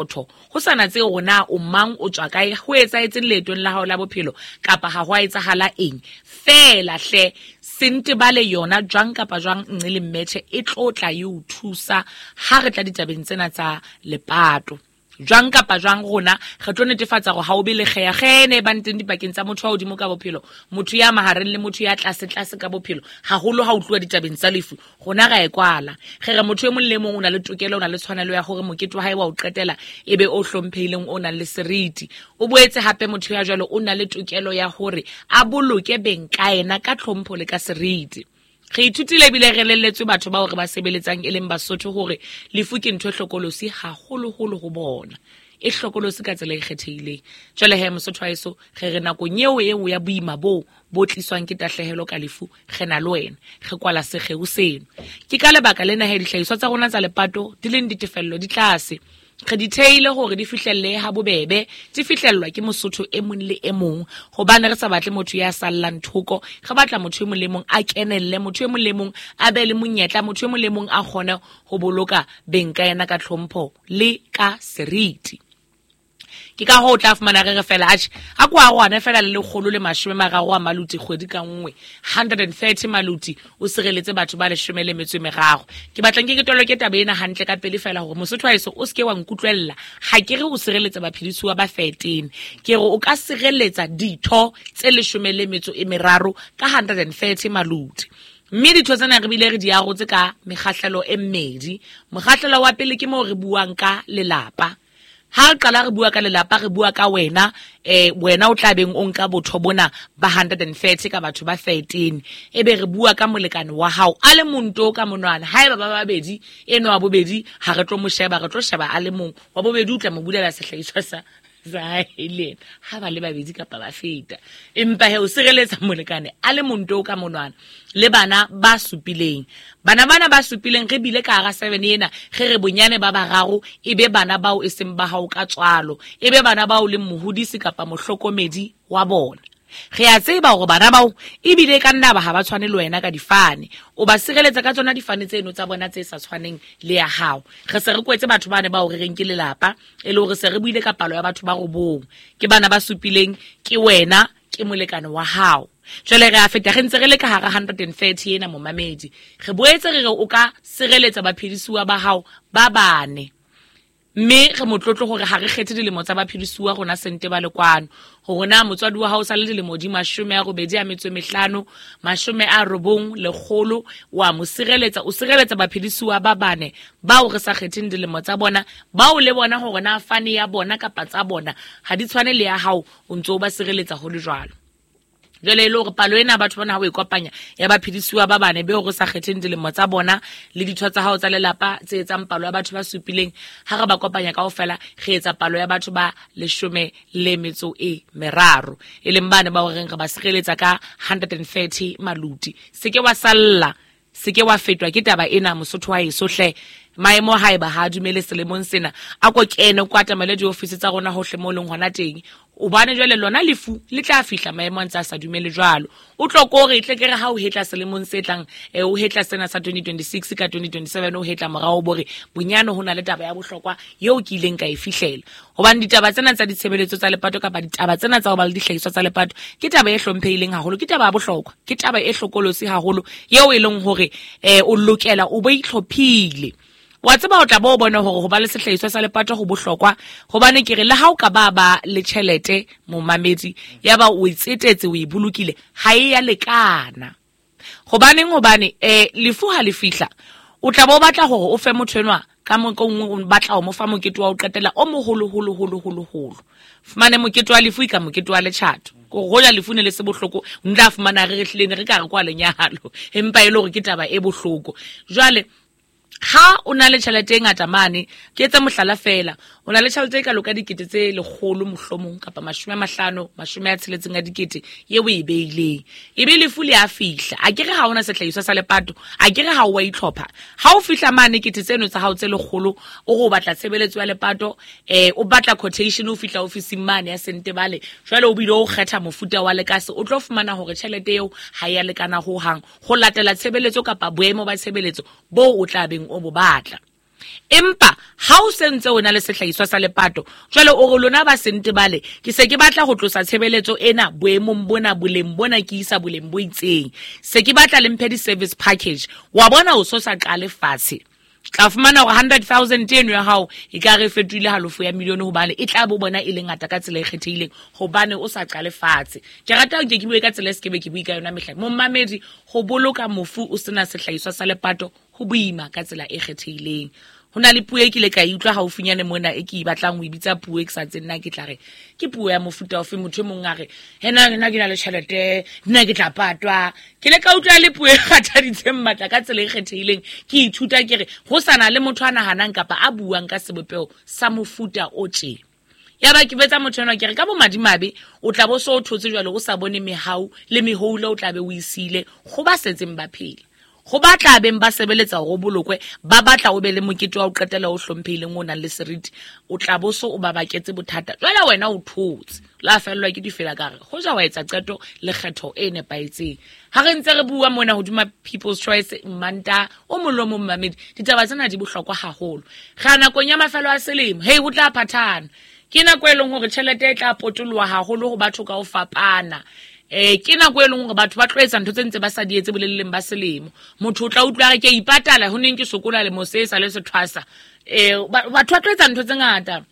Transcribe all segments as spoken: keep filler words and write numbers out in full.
Ho sa natse hore na o mang, o tswa kae, ho etsahetseng leetong la hao la bophelo kapa ha ho a etsahala eng. Feela hle Sentebale yona jwang kapa jwang nqe le mmetjhe e tlo tla e o thusa ha re tla ditabeng tsena tsa lepato. Jwang kapa jwang rona re tlo netefatsa hore ha o be le kgeakgee e bang teng dipakeng tsa motho wa hodimo ka bophelo, motho ya mahareng le motho ya tlase tlase ka bophelo, haholo ha o tluwa ditabeng tsa lefu. Rona ra e kwala. Re re motho e mong le mong o na le tokelo, o na le tshwanelo ya hore mokete wa hae wa o qetela e be o hlomphehileng, o nang le seriti. O boetse hape motho ya jwalo o na le tokelo ya hore a boloke beng ka yena ka tlhompho le ka seriti. Re ithutile ebile re elelletswe batho bao re ba sebeletsang e leng Basotho hore lefu ke ntho e hlokolosi haholoholo ho bona. E hlokolosi ka tsela e kgethehileng. Jwale he Mosotho wa heso, re re nakong eo eo ya boima boo bo tliswang ke tahlehelo ka lefu, re na le wena, re kwala sekgeo seno. Ke ka lebaka lena he dihlahiswa tsa rona tsa lepato di leng ditefello di tlase. Re di theile hore di fihlelle ha bobebe, di fihlellwa ke Mosotho e mong le e mong, hobane re sa batle motho ya sallang thoko, re batla motho e mong le mong a kenelle, motho e mong le mong a be le monyetla, motho e mong le mong a kgone ho boloka beng ka yena ka tlhompho le ka seriti. Ke ka hoo o tla fumana re re fela, atjhe, ha ko arohane fela le lekgolo le mashome mararo a maluti kgwedi ka nngwe, hundred and thirty maluti, o sireletse batho ba leshome le metso e meraro. Ke batla nke ke toloke taba ena hantle ka pele fela hore Mosotho wa heso o se ke wa nkutlwella. Ha ke re o sireletsa baphedisuwa ba thirteen, ke re o ka sireletsa ditho tse leshome le metso e meraro ka hundred and thirty maluti. Mme ditho tsena re bile re di arotse ka mekgahlelo e mmedi. Mokgahlelo wa pele ke moo re buang ka lelapa. Ha re qala re bua ka lelapa, re bua ka wena, eh, wena o tla beng o nka botho bona ba hundred and thirty ka batho ba thirteen. Ebe re bua ka molekane wa hao a le mong to ka monwana. Haeba ba babedi, enwa wa bobedi ha re tlo mo sheba, re tlo sheba a le mong. Wa bobedi o tla mo bulela sehlahiswa sa sa hae le yena, ha ba le babedi kapa ba feta. Empa he o sireletsa molekane a le mong to ka monwana le bana ba supileng. Bana bana ba supileng re bile ka hara seven ena, re re bonyane ba bararo e be bana bao e seng ba hao ka tswalo, e be bana bao leng mohodisi kapa mohlokomedi wa bona. Re a tseba hore bana bao ebile ka nna ba ha ba tshwane le wena ka difane. O ba sireletsa ka tsona difane tseno tsa bona tse sa tshwaneng le ya hao. Re se re kwetse batho bane bao re reng ke lelapa, e le hore se re buile ka palo ya batho ba robong. Ke bana ba supileng, ke wena, ke molekane wa hao. Jwale re a feta, re ntse re le ka hara hundred and thirty ena momamedi. Re boetse re re o ka sireletsa baphedisuwa ba hao ba bane. Mme re motlotlo hore ha re kgethe dilemo tsa baphedisuwa rona Sentebale kwano. Hore na motswadi wa hao o sa le dilemo di mashome a robedi a metso e mehlano, mashome a robong, lekgolo, wa mo sireletsa, o sireletsa baphedisuwa ba bane bao re sa kgetheng dilemo tsa bona, bao le bona hore na fane ya bona kapa tsa bona ha di tshwane le ya hao, o ntso o ba sireletsa ho le jwalo. Jwale e le hore palo ena batho bana ha o e kopanya ya baphedisuwa ba bane beo re sa kgetheng dilemo tsa bona le ditho tsa hao tsa lelapa tse etsang palo ya batho ba supileng, ha re ba kopanya kaofela re etsa palo ya batho ba leshome le metso e meraro, e leng bane bao re reng re ba sireletsa ka hundred and thirty maluti. Se ke wa salla, se ke wa fetwa ke taba ena Mosotho wa heso hle. Maemo haeba ha a dumele selemong sena, a ko kene ko atamele diofisi tsa rona hohle mo leng hona teng. Hobane jwale lona lefu le tla fihla maemo a ntse a sa dumele jwalo. O tlo ko re tle ke re ha o hetla selemong se tlang, eh, o hetla sena sa twenty twenty-six ka twenty twenty-seven, o hetla morao bo re bonyane ho na le taba ya bohlokwa eo ke ileng ka e fihlela. Hobane ditaba tsena tsa ditshebeletso tsa lepato kapa ditaba tsena tsa ho ba le dihlahiswa tsa lepato ke taba e hlomphehileng haholo, ke taba ya bohlokwa, ke taba e hlokolosi haholo eo e leng hore, eh, o lokela o bo itlhophile. Wa tseba o tla bo bona hore ho ba le sehlahiswa sa lepato ho bohlokwa, hobane ke re le ha o ka ba ba le tjhelete momamedi, ya ba o itsetetse o e bolokile, ha e ya lekana. Hobaneng? Hobane, eh, lefu ha le fihla, o tla bo batla hore o fe motho enwa ka mo-, ka nngwe o batla ho mo fa mokete wa ho qetela o moholo, holo, holo, holo, holo. Fumane mokete wa lefu e ka mokete wa letjhato. Ko hoja lefu ne le se bohloko, o ntla fumana re re hlile ne re ka re kwa lenyalo, empa e le hore ke taba e bohloko. Jwale ha o na le tjhelete e ngata mane, ke etsa mohlala fela, o na le tjhelete e kalo ka dikete tse lekgolo mohlomong kapa mashome a mahlano, mashome a tsheletseng a dikete eo o e beileng, ebe lefu le a fihla. A ke re ha ona sehlahiswa sa lepato, a ke re ha o wa itlhopha. Ha o fihla mane kete tseno tsa hao tse lekgolo, o re o batla tshebeletso ya lepato, eh, o batla quotation, o fihla ofising mane ya Sentebale, jwale o bile o kgetha mofuta wa lekase, o tlo fumana hore tjhelete eo ha ya lekana hohang ho latela tshebeletso kapa boemo ba tshebeletso boo o tla beng o bo batla. Empa ha o sentse o na le sehlahiswa sa lepato, jwale o re lona ba Sentebale, ke se ke batla ho tlosa tshebeletso ena boemong bona, boleng bona, ke isa boleng bo itseng. Se ke batla le mphe di-service package. Wa bona o so sa qale fatshe. Tla fumana hore hundred thousand eno ya hao e ka re fetohile halofo ya milione, hobane e tla bo bona e le ngata ka tsela e kgethehileng, hobane o sa qale fatshe. Ke rata hore ke bue ka tsela e se ke be ke bue ka yona mehla. Momamedi, ho boloka mofu o sena sehlahiswa sa lepato ho boima ka tsela e kgethehileng. Ho na le puo e kile ka e utlwa haufinyane mona e ke e batlang ho e bitsa puo e ke sa tsebeng nna ke tla re ke puo ya mofuta ofe. Motho e mong a re, he nna nna ke na le tjhelete, nna ke tla patwa. Ke le ka utlwa le puo e kgathaditseng matla ka tsela e kgethehileng. Ke ithuta ke re ho sa na le motho a nahanang kapa a buang ka sebopeho sa mofuta o tje. Ya ba ke betsa motho enwa ke re ka bomadimabe o tla bo so o thotse jwale o sa bone mehau le mehoula o tla be o isile ho ba setseng ba phela. Ho ba tla beng ba sebeletsa hore o bolokwe, ba batla o be le mokete wa ho qetela o hlomphehileng o nang le seriti, o tla bo so o ba baketse bothata. Jwale wena o thotse, la fellwa ke difela ka re hoja wa etsa qeto le kgetho e nepahetseng. Ha re ntse re bua mona hodima People's Choice Manta o mong le o mong mamedi, ditaba tsena di bohlokwa haholo. Re nakong ya mafelo a selemo, hei ho tla phathana. Ke nako e leng hore tjhelete e tla potoloha haholo ho batho ka ho fapana. Eh, ke nako e leng hore batho ba tlo etsa ntho tse ntse ba sa di etse boleleng ba selemo. Motho o tla utlwa re ke ipatala ho neng ke sokola le mose sa le sethwasa. Eh, batho ba tlo etsa ntho tse ngata.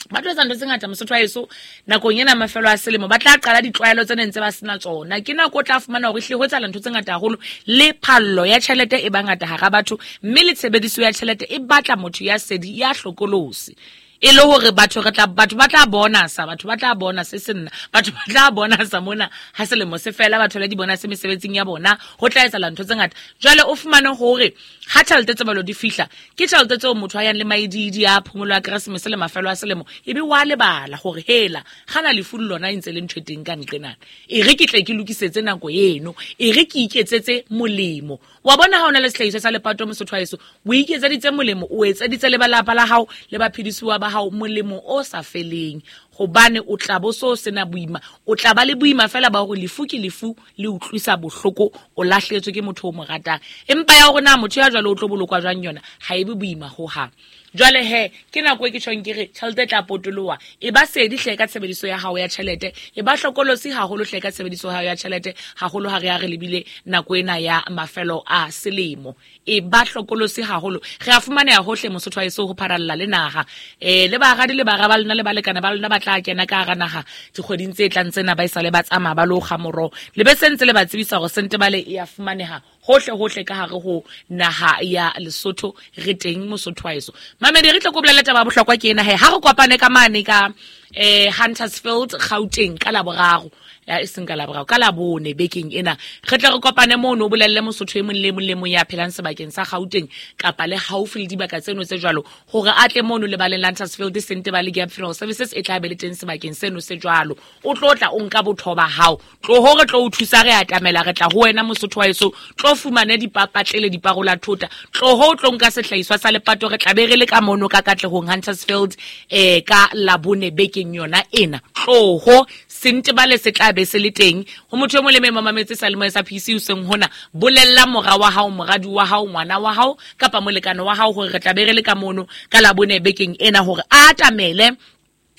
Ba tlo etsa ntho tse ngata mosotho wa heso nakong ena mafelo a selemo. Ba tla qala ditlwaelo tse neng tse ba sena tsona. Ke nako o tla fumana hore ehlile ho etsahala ntho tse ngata haholo, le phallo ya tjhelete e ba ngata hara batho, mme le tshebediso ya tjhelete e batla motho ya sedi, ya hlokolosi. E le hore batho re tla, batho ba tla bona sa, batho ba tla bona se se nna, batho ba tla bona sa mona ha selemo se fela, batho le di bona se mesebetsing ya bona, ho tla etsahala ntho tse ngata. Jwale o fumane hore ha tjhelete tse balo di fihla, ke tjhelete tseo motho a yang le maididi a phomolo ya Keresemese le mafelo a selemo, ebe wa lebala hore hela gana lefu le lona e ntse le ntho e teng ka nqenana. E re ke tle ke lokisetse nako eno, e re ke iketsetse molemo. Wa bona ha o na le sehlahiswa sa lepato mosotho wa heso, o iketseditse molemo, o etseditse le ba lapa la hao le baphedisuwa ba hao molemo o sa feleng, hobane o tla bo so sena boima, o tla ba le boima fela ba hore lefu ke lefu le utlwisa bohloko, o lahletswe ke motho o mo ratang. Empa ya hore na motho ya jwalo o tlo bolokwa jwang yona ha e be boima ho hang. Jwale he ke nako e ke tjhong ke re tjhelete e tla potoloha, e ba sedi hle ka tshebediso ya hao ya tjhelete, e ba hlokolosi haholo hle ka tshebediso ya hao ya tjhelete, haholo ha re ya re lebile nako ena ya mafelo a selemo. E ba hlokolosi haholo. Re a fumaneha hohle mosotho wa heso ho pharalla le naha. Eh, le baradi le bara ba lona le balekane ba lona ba tla kena ka hara naha dikgweding tse tlang tsena, ba esale ba tsamaya ba lo kga moroho. Le be sentse le ba tsebisa hore Sentebale e a fumaneha hohle hohle ka hare ho naha ya Lesotho. Re teng mosotho wa heso. Mamedi, re tlo ko bolela taba ya bohlokwa ke ena he. Ha re kopane ka mane ka eh Huntersfield Gauteng ka Laboraro, ya e seng ka Laboraro, ka Labone bekeng ena. Re tla re kopane mono, o bolelle mosotho e mong le mong le mong ya phelang sebakeng sa Gauteng kapa le haufi le dibaka tseno tse jwalo, hore a tle mono lebaleng la Huntersfield Sentebale Gap Funeral Services e tla be le teng sebakeng seno se jwalo. O tlo tla o nka botho ba hao, tloho re tlo o thusa, re atamela, re tla ho wena mosotho wa heso, tlo fumane dipapatlele, diparola thota, tloho o tlo nka sehlahiswa sa lepato. Re tla be re le ka mono ka Katlehong Huntersfield eh ka Labone bekeng yona ena. Tloho Sentebale se tla be se le teng. Ho motho e mong le mong mametse sa lemo sa P C o seng hona, bolella mora wa hao, moradi wa hao, ngwana wa hao kapa molekane wa hao hore re tla be re le ka mono ka Labone bekeng ena, hore a atamele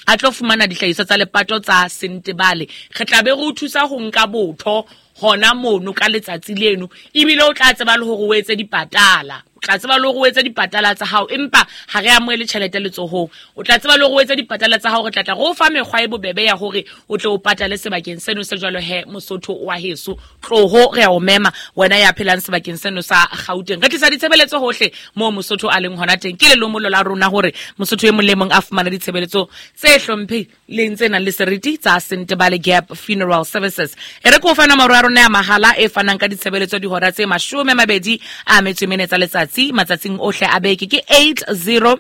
a tlo fumana dihlahiswa tsa lepato tsa Sentebale. Re tla be re o thusa ho nka botho hona mono ka letsatsi leno, ebile o tla tseba le hore o etse dipatala. O tla tseba le hore o etse dipatala tsa hao, empa ha re amohele tjhelete letsohong. O tla tseba le hore o etse dipatala tsa hao, re tla tla re o fa mekgwa e bobebe ya hore o tle o patale sebakeng seno se jwalo. He mosotho wa heso, tloho re a o mema wena ya phelang sebakeng seno sa Gauteng. Re tlisa ditshebeletso hohle moo mosotho a leng hona teng. Ke lelomolo la rona hore mosotho e mong le mong a fumane ditshebeletso tse hlomphehileng tse nang le seriti tsa Sentebale Gap Funeral Services. E re ke o fa nomoro ya rona ya mahala e fanang ka ditshebeletso dihora tse mashome a mabedi a metso e mene tsa letsatsi matsatsing ohle a beke, ke eight zero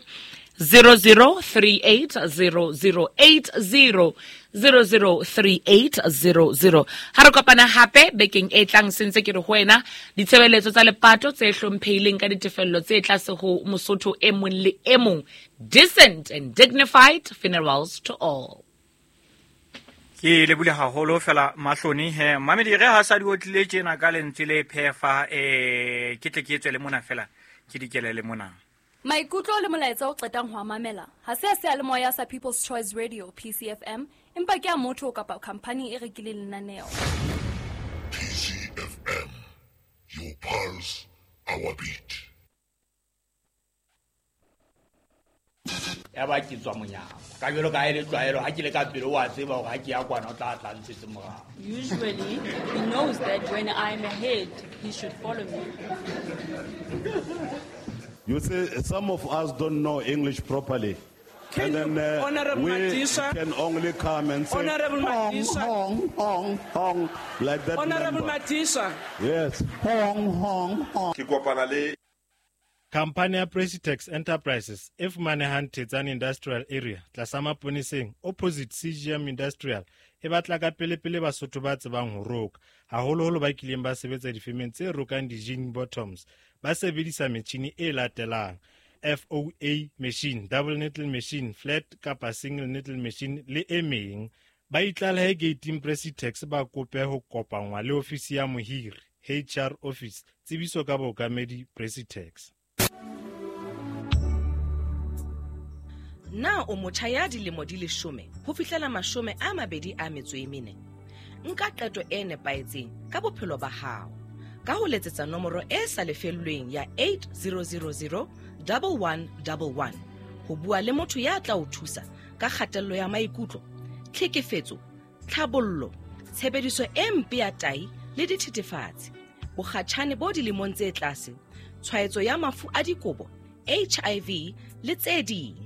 zero zero three eight zero zero eight zero zero zero three eight zero zero. Ha re kopana hape bekeng e tlang, sentse ke re ho wena ditshebeletso tsa lepato tse hlomphehileng ka ditefello tse tlase ho mosotho e mong le e mong. Decent and dignified funerals to all. Ke lebule haholo fela mahloni he mamedi re ha sa di otlile tjena ka lentswe le phefa, eh ke tle ke tswe le mona fela ke dikele le mona. Maikutlo le molaetsa o qetang ho a mamela ha se a seyalemoya sa People's Choice Radio P C F M, empa ke a motho kapa khampani e rekileng lenaneo. P C F M, your pulse, our beat. Ya ba ke tswa monyako ka jwalo ka e le tlwaelo ha ke le ka pele wa tseba hore ha ke ya kwana o tla tla ntshetse morao. Usually he knows that when I'm ahead he should follow me. You see, some of us don't know English properly. Can and then uh, Honorable we Madisha, can only come and say Honorable hong, Madisha, hong, hong, hong, like that. Honorable member. Madisha. Yes. Hong, hong, hong. Ke kopana le Khampani ya Presitex Enterprises e fumanehang Thetsane Industrial Area tlasa Maponeseng opposite C G M Industrial e batla ka pelepele Basotho ba tsebang ho roka, haholoholo ba kileng ba sebetsa difemeng tse rokang di-jean bottoms ba sebedisa metjhini e latelang: F O A machine, double needle machine, flat kapa single needle machine le e meng. Ba itlalehe gating Presitex ba kope ho kopanngwa le ofisi ya mohiri, H R office. Tsebiso ka bookamedi Presitex. Na o motjha ya dilemo di leshome ho fihlela mashome a mabedi a metso e mene? Nka qeto e nepahetseng ka bophelo ba hao ka ho letsetsa nomoro e sa lefellweng ya eight zero zero zero one one one one ho bua le motho ya tla o thusa ka kgatello ya maikutlo, tlhekefetso, tlhabollo, tshebediso e mpe ya tahi le dithethefatsi, bokgatjhane bo dilemong tse tlase, tshwaetso ya mafu a dikobo, H I V le tse ding.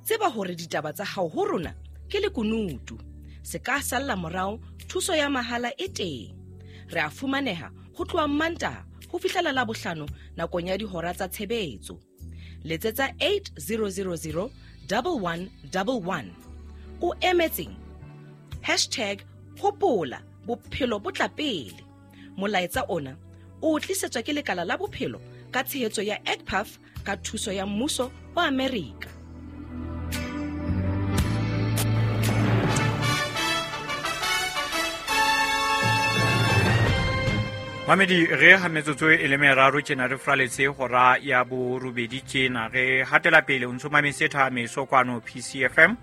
Tseba hore ditaba tsa hao ho rona ke lekunutu. Se ka salla morao, thuso ya mahala e teng. Re a fumaneha ho tloha Mantaha ho fihlela Labohlano nakong ya dihora tsa tshebetso. Letsetsa eight zero zero zero one one one one. O emetseng? Hashtag hopola bophelo bo tla pele. Molaetsa ona o tlisetswa ke lekala la bophelo ka tshehetso ya E C P A F ka thuso ya mmuso wa Amerika. Mamedi re ha metsotso e le meraro tjena re fraletse hora ya borobedi tjena re hatela pele o ntso mametse Thameso kwano P C F M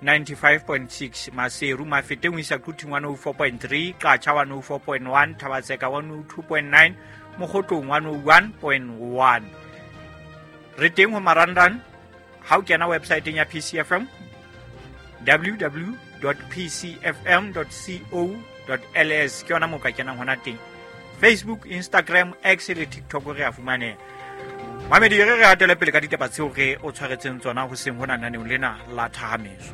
ninety-five point six Maseru Mafeteng ho isa Quthing one oh four point three, Qacha one oh four point one, Thabatseka one oh two point nine, Mokgotlong one oh one point one. Re teng ho marangrang ha o kena website ya P C F M w w w dot p c f m dot co dot l s ke yona mo ka kenang hona teng. Facebook, Instagram, X le TikTok re a fumaneha. Mamedi re re hatele pele ka ditaba tseo re o tshwaretseng tsona ho seng hona naneong lena la Thahameso.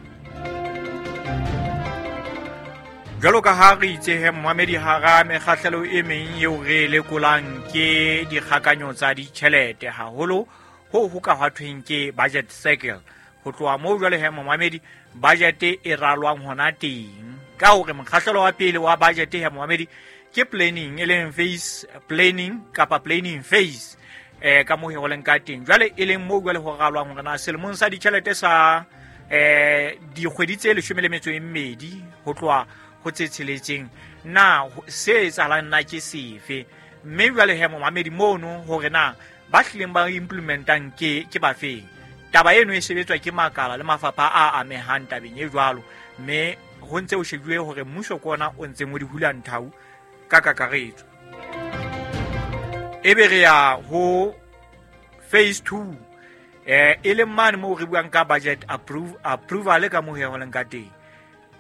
Jwalo ka ha re itse he Mamedi hara mekgahlelo e meng eo re lekolang ke dikgakanyo tsa ditjhelete haholo ho ho ka hwathweng ke budget cycle. Ho tloha moo jwale he Mamedi budget e ralwang hona teng. Ka hore mokgahlelo wa pele wa budget he Mamedi ke planning e leng phase planning kapa planning phase eh ka moo ho leng ka teng. Jwale e leng moo jwale ho ralwang hore na selemong sa ditjhelete sa eh dikgwedi tse leshome le metso e mmedi ho tloha ho tse tsheletseng na se etsahalang na ke sefe, mme jwale he Mamedi mono hore na ba hlileng ba implementang ke ke bafeng. Taba eno e sebetswa ke makala le mafapha a amehang tabeng e jwalo, mme ho ntse ho shejuwe hore mmuso ke ona o ntseng o di hula nthau ka kakaretso. Ebe re ya ho phase two eh e leng mane moo re buang ka budget approve approval ka moo ho leng ka teng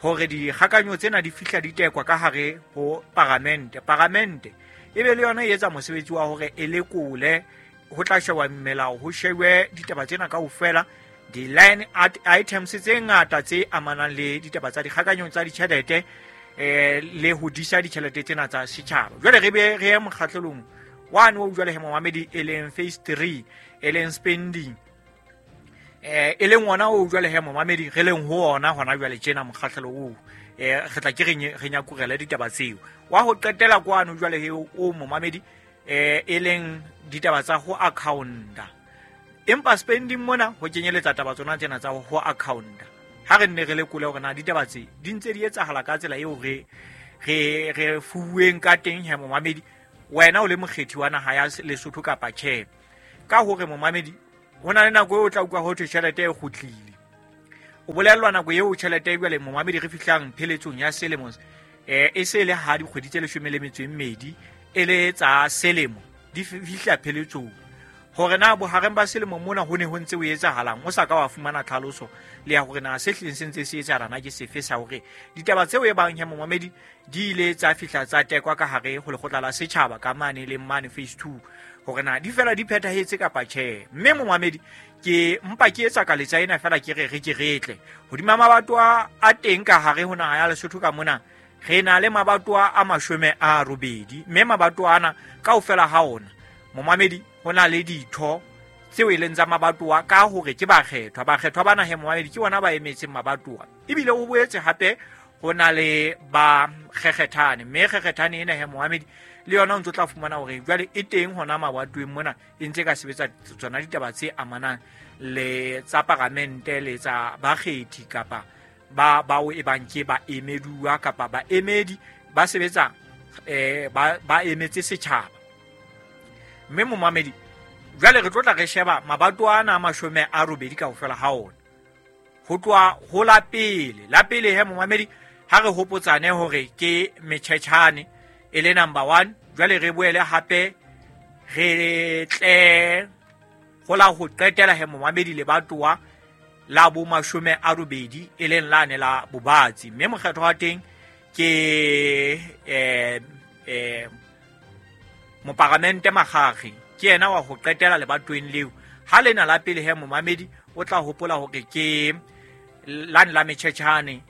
hore dikgakanyo tsena di fihla di tekwa ka hare ho paramente. Paramente ebe le yona e etsa mosebetsi wa hore e lekole ho tla shewa melao, ho shewe ditaba tsena kaofela, di-line items tse ngata tse amanang le ditaba tsa dikgakanyo tsa ditjhelete eh le ho disa ditjhelete tsena tsa setjhaba. Jwale re be re ye mokgahlelong one o jwale he Mamedi e leng phase three e leng spending eh e leng ona o jwale he Mamedi re leng ho ona hona jwale tjena mokgahlelo oo eh re tla ke re re nyakurela ditaba tseo. Wa ho qetela kwano jwale he o Mamedi eh e leng ditaba tsa ho accounta. Empa spending mona ho kenyeletsa taba tsona tsena tsa ho accounta. Ha re nne re lekole hore na ditaba tse di ntse di etsahala ka tsela eo re re re fuweng ka teng he Momamedi, wena o le mokgethi wa naha ya Lesotho kapa tjhe. Ka hore Momamedi ho na le nako eo o tla utlwa ho thwe tjhelete e kgutlile. O bolellwa nako eo tjhelete e jwale momamedi re fihlang pheletsong ya selemo, eh e se le ha dikgwedi tse leshome le metso e mmedi e le tsa selemo di fihla pheletsong. Hore na bohareng ba selemo mona ho ne ho ntse ho etsahalang, o sa ka wa fumana tlhaloso le ya hore na se hlileng se ntse se etsahala na ke sefe sa hore ditaba tseo e bang he momamedi di ile tsa fihla tsa tekwa ka hare ho lekgotla la setjhaba ka mane le mane phase two, hore na di fela di phethahetse kapa tjhe. Mme momamedi ke mpa ke etsa ka letsa ena fela ke re re ke re tle hodima mabatowa a teng ka hare ho naha ya Lesotho ka mona, re na le mabatowa a mashome a robedi, mme mabatowa ana kaofela ha ona momamedi ho na le ditho tseo e leng tsa mabatowa ka hore ke bakgethwa. Bakgethwa bana he momamedi ke bona ba emetseng mabatowa, ebile ho boetse hape ho na le ba kgekgethane, mme kgekgethane ena he momamedi le yona o ntso tla fumana hore jwale e teng hona mabatoweng mona e ntse ka sebetsa tsona ditaba tse amanang le tsa paramente le tsa bakgethi kapa ba bao e bang ke ba emeduwa kapa ba emedi ba sebetsa eh ba ba emetse setjhaba. Mme momamedi jwale re tlo tla re sheba mabatowa ana a mashome a robedi kaofela ha ona ho tloha ho la pele. La pele he momamedi ha re hopotsane hore ke metjhetjhane e le number one, jwale re boele hape re tle ho la ho qetela he momamedi lebatowa la bo mashome a robedi e leng lane la Bobatsi, mme mokgetho wa teng ke eh eh moparamente Makgakge, ke yena wa ho qetela lebatoweng leo. Ha lena la pele he momamedi o tla hopola hore ke lane la metjhetjhane,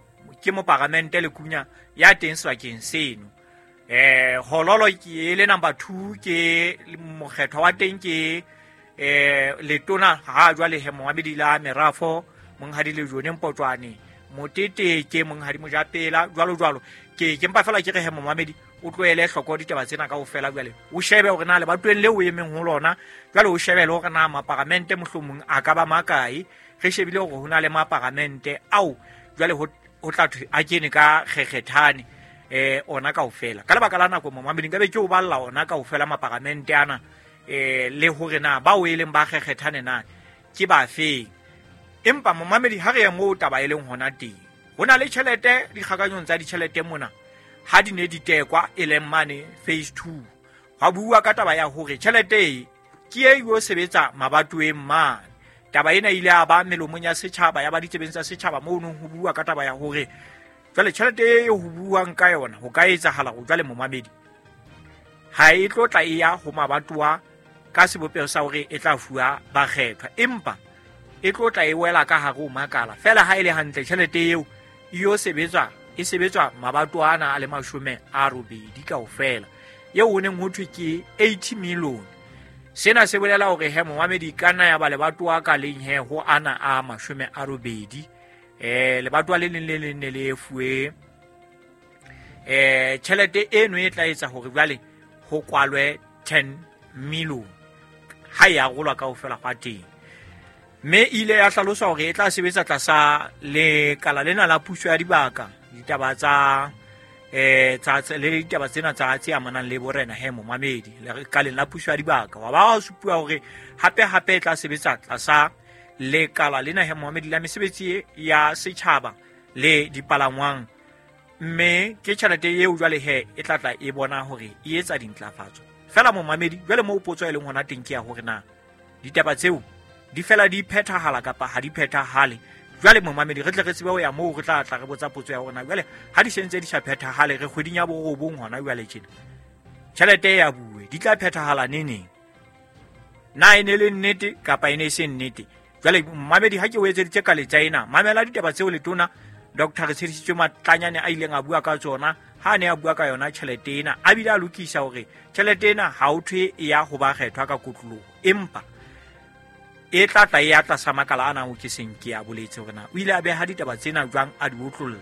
ke moparamente Lekunya ya teng sebakeng seno. Eh Hololo ke le number two, ke mokgetho wa teng ke eh letona ha jwale he momamedi la merafo monghadi le Jone Mpotwane, Motete ke monghadi Mojapela, jwalo jwalo. Ke ke mpa fela ke re he momamedi o tlohele hloko ditaba tsena kaofela, jwale o shebe hore na lebatoweng leo o emeng ho lona, jwale o shebe le hore na maparamente mohlomong a ka ba makae. Re shebile hore ho na le maparamente ao jwale ho ho tla thwe a kene ka kgekgethane eh ona kaofela. Ka lebaka la nako momamedi nkabe ke o balla ona kaofela maparamente ana eh le hore na bao e leng ba kgekgethane na ke ba feng. Empa momamedi ha re ya moo taba e leng hona teng, ho na le tjhelete dikgakanyong tsa ditjhelete mona ha di ne di tekwa e leng mane phase two, hwa bua ka taba ya hore tjhelete e ke e yo sebetsa mabatoweng mane. Taba ena ile ya ba melomong ya setjhaba, ya ba ditsebeng tsa setjhaba moo nong ho bua ka taba ya hore jwale tjhelete e ho buang ka yona ho ka etsahala ho jwale momamedi ha e tlo tla e ya ho mabatowa ka sebopeho sa hore e tla fuwa bakgethwa, empa e tlo tla e wela ka hare ho makala fela. Ha e le hantle tjhelete eo e yo sebetswa e sebetswa mabatowa ana a le mashome a robedi kaofela, eo ho neng ho thwe ke eighty million. Sena se bolela hore he momamedi ka nna ya ba lebatowa ka leng he ho ana a mashome a robedi, eh lebatowa le leng le leng ne le fuwe eh tjhelete eno e tla etsa hore jwale ho kwalwe ten million ha e arolwa kaofela hwa teng. Mme ile ya hlalosa hore e tla sebetsa tlasa lekala lena la puso ya dibaka, ditaba tsa eh tsa le ditaba tsena tsa tse amanang le borena he momamedi lekaleng la puso ya dibaka. Wa ba wa supuwa hore hape hape e tla sebetsa tlasa lekala lena he momamedi la mesebetsi ya setjhaba le dipalangwang, mme ke tjhelete eo jwale he e tla tla e bona hore e etsa dintlafatso fela momamedi. Jwale moo potso e leng hona teng ke ya hore na ditaba tseo di fela di phethahala kapa ha di phethahale. Jwale momamedi re tle re tsebe ho ya moo re tla tla re botsa potso ya hore na jwale ha di sentse di sa phethahale re kgweding ya borobong hona jwale tjena tjhelete ya bue di tla phethahala neneng, na e ne le nnete kapa e ne e se nnete. Jwale momamedi ha ke o etseditse ka letsa ena, mamela ditaba tseo letona Doctor Retshedisitswe Matlanyane a ileng a bua ka tsona ha a ne a bua ka yona tjhelete ena, a bile a lokisa hore tjhelete ena ha ho thwe e ya ho bakgethwa ka kotloloho, empa e tla tla e ya tlasa makala ana o ke seng ke a boletse hore na o ile a beha ditaba tsena jwang a di otlolla.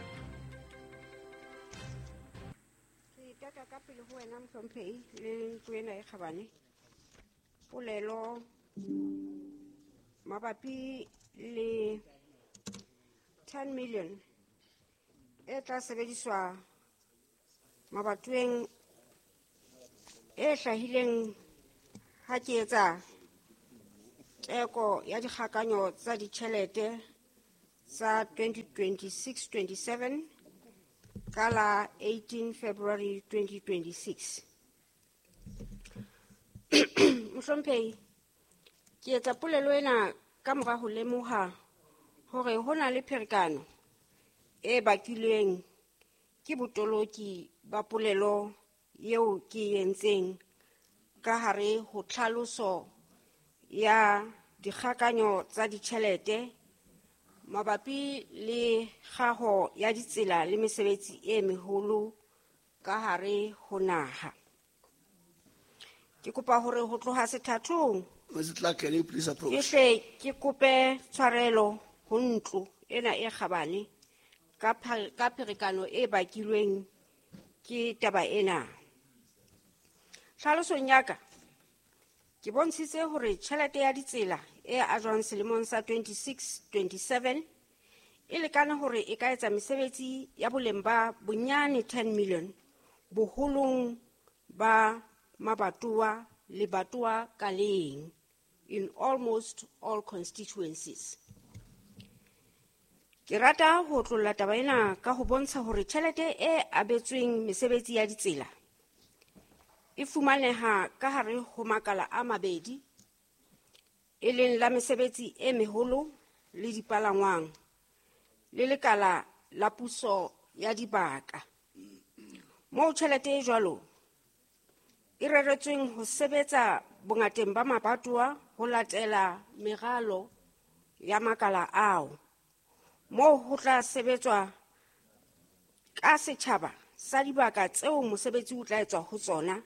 Ke itaka ka pele ho wena mohlomphehi le ntlo ena e kgabane. Polelo mabapi le ten million e tla sebediswa mabatoweng e hlahileng ha ke etsa Teko ya dikgakanyo tsa ditjhelete tsa twenty twenty-six twenty-seven ka la eighteen February twenty twenty-six. Mohlomphehi, ke etsa polelo ena ka mora ho lemoha hore ho na le pherekano e bakilweng ke botoloki ba polelo eo ke entseng ka hare ho tlhaloso ya dikgakanyo tsa ditjhelete mabapi le kgaho ya ditsela le mesebetsi e meholo ka hare ho naha. Ke kopa hore ho tloha sethathong Mister Clark, can you please approach? Ke hle ke kope tshwarelo ho ntlo ena e kgabane ka ka pherekano e bakilweng ke taba ena. Tlhalosong ya ka ke bontshitse hore tjhelete ya ditsela e ajwang selemong sa twenty-six twenty-seven e lekane hore e ka etsa mesebetsi ya boleng ba bonyane ten million boholong ba mabatowa le batowa ka leng in almost all constituencies. Ke rata ho tlolla taba ena ka ho bontsha hore tjhelete e abetsweng mesebetsi ya ditsela e fumaneha ka hare ho makala a mabedi, e leng la mesebetsi e meholo le dipalangwang le lekala la puso ya dibaka. Moo tjhelete e jwalo e reretsweng ho sebetsa bongateng ba mabatowa ho latela meralo ya makala ao, moo ho tla sebetswa ka setjhaba sa dibaka tseo mosebetsi o tla etswa ho tsona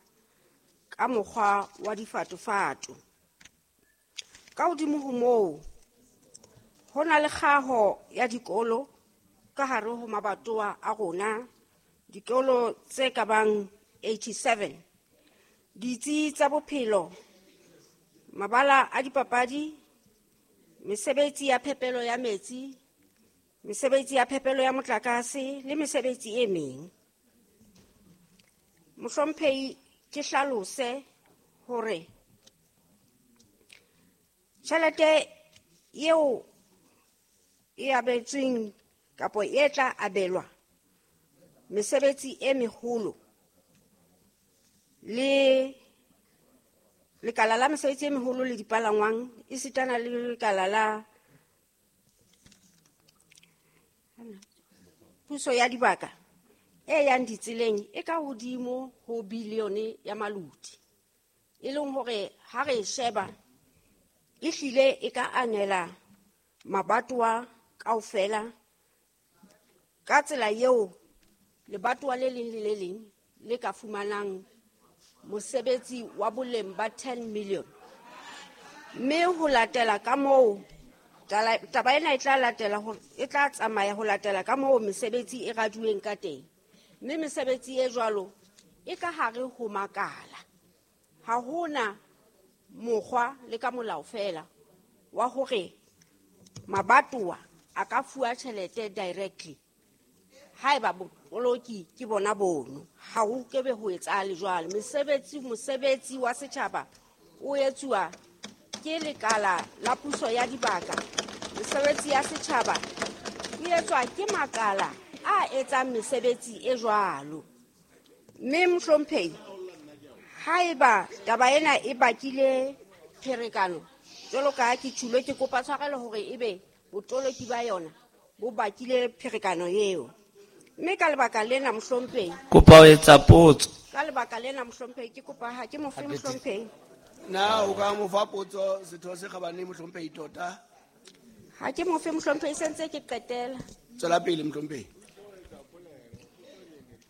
ka mokgwa wa difatofato. Ka hodimo ho moo, ho na le kgaho ya dikolo ka hare ho mabatowa a rona, dikolo tse ka bang eighty-seven, ditsi tsa bophelo, mabala a dipapadi, mesebetsi ya phepelo ya metsi, mesebetsi ya phepelo ya motlakase le mesebetsi e meng. Mohlomphehi, ke hlalose hore tjhelete eo e abetsweng kapa e tla abelwa mesebetsi e meholo le lekala la mesebetsi e meholo le dipalangwang esitana le lekala la puso ya dibaka e yang ditseleng e ka hodimo ho bilione ya maluti, e leng hore ha re sheba e hlile e ka anela mabatowa kaofela ka tsela eo lebatowa le leng le le leng le ka fumanang mosebetsi wa boleng ba ten million. Mme ho latela ka moo taba ena e tla latela ho e tla tsamaya ho latela ka moo mesebetsi e raduweng ka teng. Mme mesebetsi e jwalo e ka hare ho makala. Ha hona mokgwa le ka molao fela wa hore mabatowa a ka fuwa tjhelete directly haeba botoloki ke bona bono. Ha ho kebe ho etsahale jwalo. Mesebetsi mosebetsi wa setjhaba o etsuwa ke lekala la puso ya dibaka. Mesebetsi ya setjhaba e etswa ke makala a etsang mesebetsi e jwalo. Mme mohlomphehi, haeba taba ena e bakile pherekano jwalo ka ke tjhulo, ke kopa tshwarelo hore ebe botoloki ba yona bo bakile pherekano eo. Mme ka lebaka lena mohlomphehi, kopa ho etsa potso. Ka lebaka lena mohlomphehi, ke kopa ha ke mofe mohlomphehi. Na o ka mo fa potso setho se kgabane mohlomphehi tota? Ha ke mofe mohlomphehi, sentse ke qetela. Tswela pele mohlomphehi.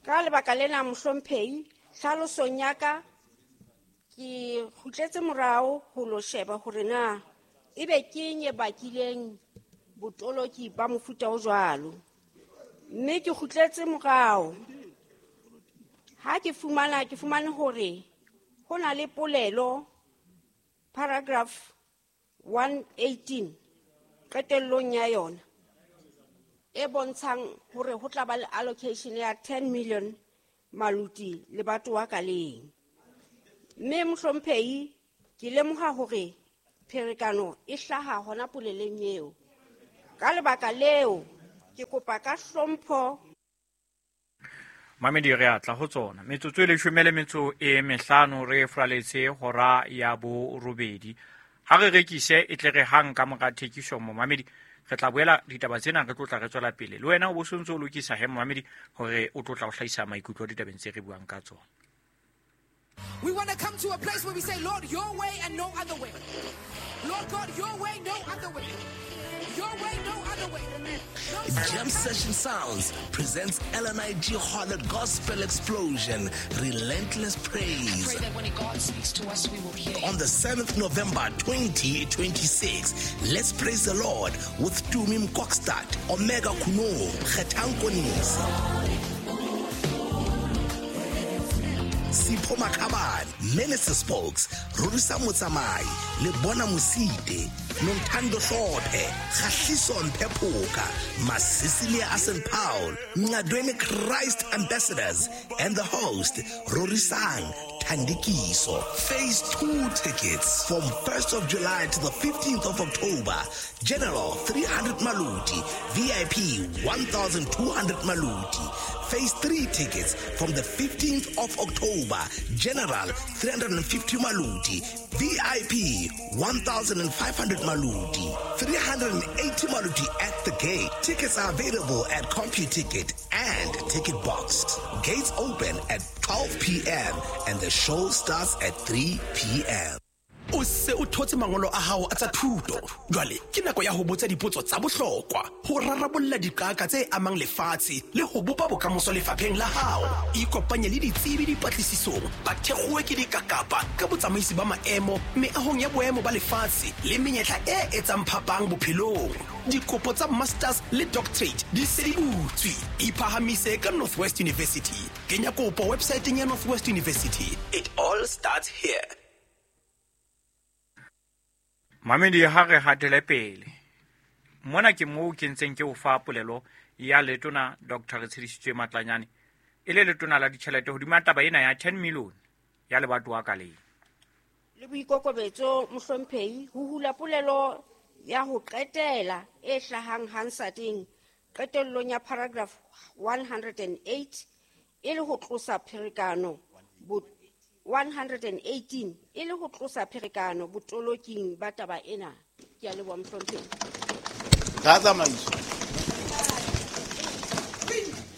Ka lebaka lena mohlomphehi, tlhalosong ya ka ke kgutletse morao ho lo sheba hore na ebe ke eng e bakileng botoloki ba mofuta o jwalo. Mme ke kgutletse morao ha ke fumana ke fumane hore ho na le polelo paragraph one eighteen qetellong ya yona e bontshang hore ho tla ba le allocation ya ten million maluti le batho wa ka leng. Mme mohlomphehi, ke lemoha hore pherekano e hlaha hona poleleng eo. Ka lebaka leo, ke kopa ka hlompho. Mamedi re atla ho tsona metsotso e leshome le metso e mehlano re fraletse hora ya borobedi. Ha re rekise e tle re hang ka mora thekiso mo mamedi re tla boela ditaba tsena re tlotla re tswela pele. Le wena o bo sontso o lokisa he mamedi hore o tlotla o hlahisa maikutlo ditabeng tse re buang ka tsona. We want to come to a place where we say, Lord, your way and no other way. Lord God, your way, no other way. Your way, no other way. No. Jam Session Sounds presents L N I G Harlot Gospel Explosion, Relentless Praise. I pray that when God speaks to us, we will hear. On the seventh of November twenty twenty-six, let's praise the Lord with Tumi Mkokstad, Omega Kuno, Kgethankonisi, Sipho Makhabane, Minister Spokes, Rorisa Motsamai, Lebona Mosite, Nontando Hlophe, Kgahliso Mpephoka, Masisilia Asen Paul, Ngadweni Christ Ambassadors, and the host, Rorisang Thandikiso. Phase two tickets from first of July to the fifteenth of October. General three hundred Maluti, V I P one thousand two hundred Maluti. Phase three tickets from the fifteenth of October. General three hundred fifty Maluti, V I P one thousand five hundred Maluti, three hundred eighty Maluti at the gate. Tickets are available at CompuTicket and Ticket Box. Gates open at twelve p.m. and the show starts at three p.m. O se o thotse mangolo a hao a tsa thuto. Jwale ke nako ya ho botsa dipotso tsa bohlokwa, ho rarabolla diqaka tse amang lefatshe le ho bopa bokamoso lefapheng la hao. Ikopanye le ditsebi dipatlisisong, ba thekgowe ke dikakapa ka botsamaisi ba maemo, meahong ya boemo ba lefatshe le menyetla e etsang phapang bophelong. Dikopo tsa masters le doctorate di se di butswe. Iphahamise ka Northwest University. Kenya kopo websiteng ya Northwest University. It all starts here. Mamedi ha re hatele pele. Mona ke moo ke ntseng ke o fa polelo ya letona Doctor Retshedisitswe Matlanyane e le letona la ditjhelete hodima taba ena ya ten million ya lebatowa ka leng. Le boikokobetso mohlomphehi ho hula polelo ya ho qetela e hlahang Hansarding qetellong ya paragraph one hundred eight e le ho tlosa pherekano bo one hundred eighteen e le ho tlosa pherekano botoloking ba taba ena. Ke a leboha mohlomphehi. Ka tsamaiso.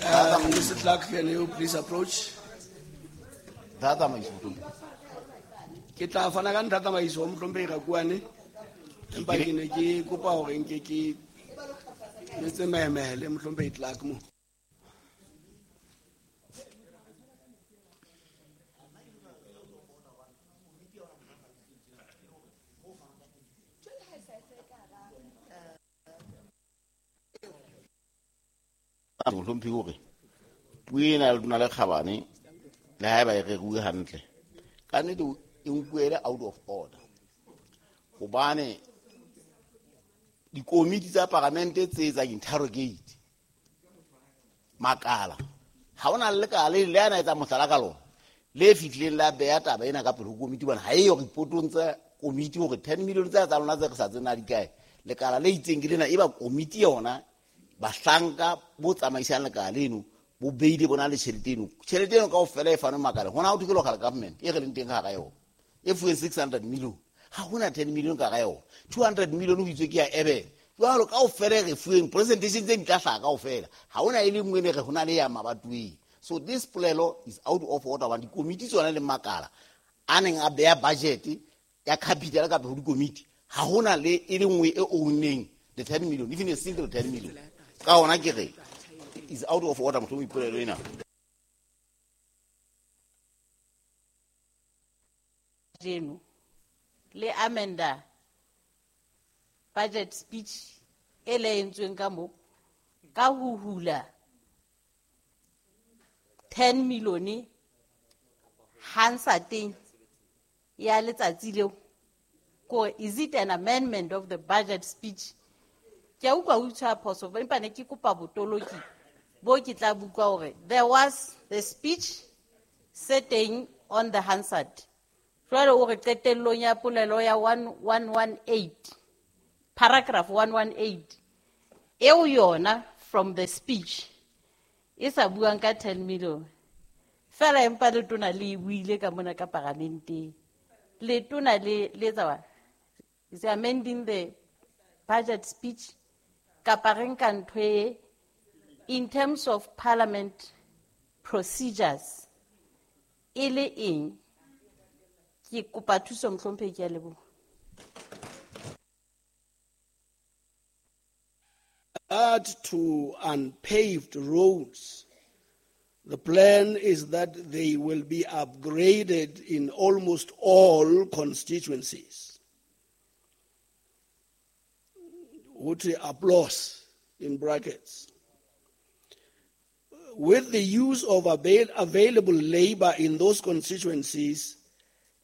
Uh, Mister Clark, can you please approach? Ka tsamaiso mohlomphehi. Ke tla fana ka ntlha tsamaiso mohlomphehi Rakuane. Empa ke ne ke kopa hore nke ke etse mehemele mohlomphehi Clark mo. Mohlomphehi hore puo ena le tona le kgabane le haeba e reruwe hantle ka nnete e nkuele out of order, hobane dikomiti tsa paramente tse etsang interrogate makala ha hona le lekala le le ana etsa mohlala ka lona le fihlileng la beha taba ena ka pele ho komiti, hobane ha eyo reportong tsa komiti hore ten million tsa tsa lona tse re sa tsena di kae. Lekala le itseng ke lena e ba komiti yona bahlanka bo tsamaisang lekala leno bo beile bona le tjhelete eno. Tjhelete eno kaofela e fanwe makaleng. Hona ho thwe ke local government e re leng teng ka hara yona e fuweng six hundred million, ha hona ten million ka hara yona, two hundred million ho itswe ke ya Eben. Jwalo kaofela e re fuweng presentation tse di tla hlaha kaofela, ha hona e le nngwe ne re hona le ya mabatoweng. So this polelo is out of order hobane dikomiti tsona le makala a neng a beha budget ya capital ka pele ho dikomiti, ha hona le e le nngwe e owneng the ten million, even a single ten million. Ka hona ke re is out of order mohlomong ipolelo ena. Jeno le amenda budget speech e le entsweng ka mo ka ho hula ten million Hansarding ya letsatsi leo. Ko is it an amendment of the budget speech? Ke a utlwa o itshwara phoso, empa ne ke kopa botoloki bo ke tla bua hore there was the speech setting on the Hansard. Jwale o re qetellong ya polelo ya one one one eight, paragraph one one eight, eo yona from the speech e sa buang ka ten million. Fela empa letona le e buile ka mona ka paramenteng. Letona le le etsa wa? Is amending the budget speech kapa re nka ntho e in terms of parliament procedures e le eng? Ke kopa thuso mohlomphehi, ke a leboha. Add to unpaved roads, the plan is that they will be upgraded in almost all constituencies. Would applause in brackets. With the use of avail- available labor in those constituencies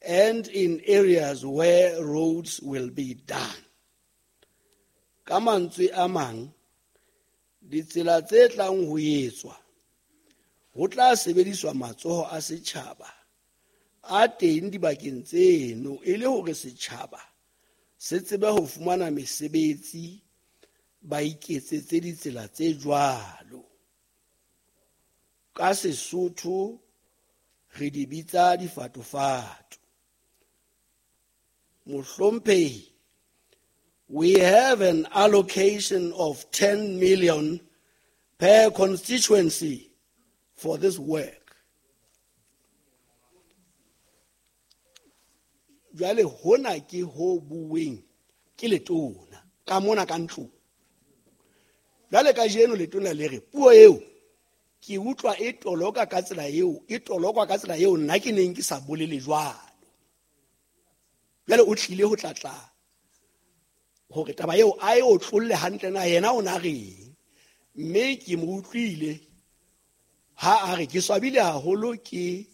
and in areas where roads will be done. Ka mantswe a mang, ditsela tse tlang ho etswa ho tla sebediswa matsoho a setjhaba a teng dibakeng tseno e le hore setjhaba se tsebe ho fumana mesebetsi ba iketsetse ditsela tse jwalo. Ka Sesotho re di bitsa difatofato. Mohlomphehi, we have an allocation of ten million per constituency for this work. Jwale hona ke ho bueng ke letona ka mona ka ntlong. Jwale kajeno letona le re puo eo ke utlwa e toloka ka tsela eo, e tolokwa ka tsela eo nna ke neng ke sa bolele jwalo. Jwale o tlile ho tlatla hore taba eo a e otlolle hantle na yena o na reng. Mme ke mo utlwile ha a re ke swabile haholo ke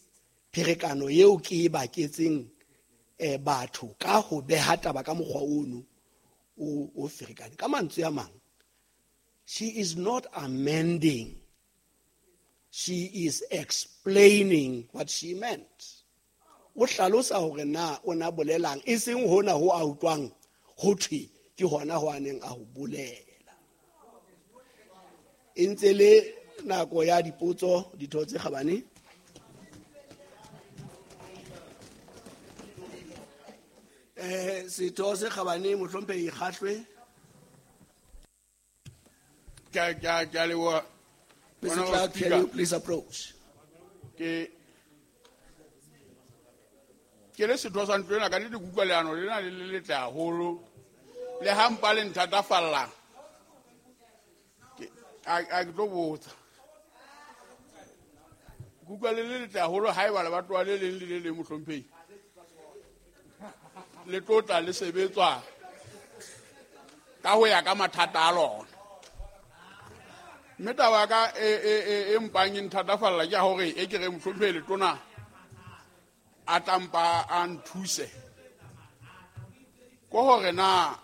pherekano eo ke e baketseng eh batho ka ho beha taba ka mokgwa ono o o ferekane. Ka mantswe a mang, she is not amending, she is explaining what she meant. O hlalosa hore na o na bolelang, e seng hona ho a utlwang ho thwe ke hona ho a neng a ho bolela. E ntse le nako ya dipotso, ditho tse kgabane. Eh setho se kgabane mohlomphehi Kgahlwe. Ke ke ke leboha. Mister Clark, can you please approach? Ke ke le setho sa ntlo ena ka nnete ke utlwa leano lena le le letle haholo. Le ha mpa le nthatafalla. Ke a a ke tlo botsa. Ke utlwa le le letle haholo haeba lebatowa le leng le le leng mohlomphehi. Le tlo tla le sebetswa ka ho ya ka mathata a lona. Mme taba ya ka e e e e mpang e nthatafalla ke ya hore e ke re mohlomphehi letona a tlampa a nthuse. Ko hore na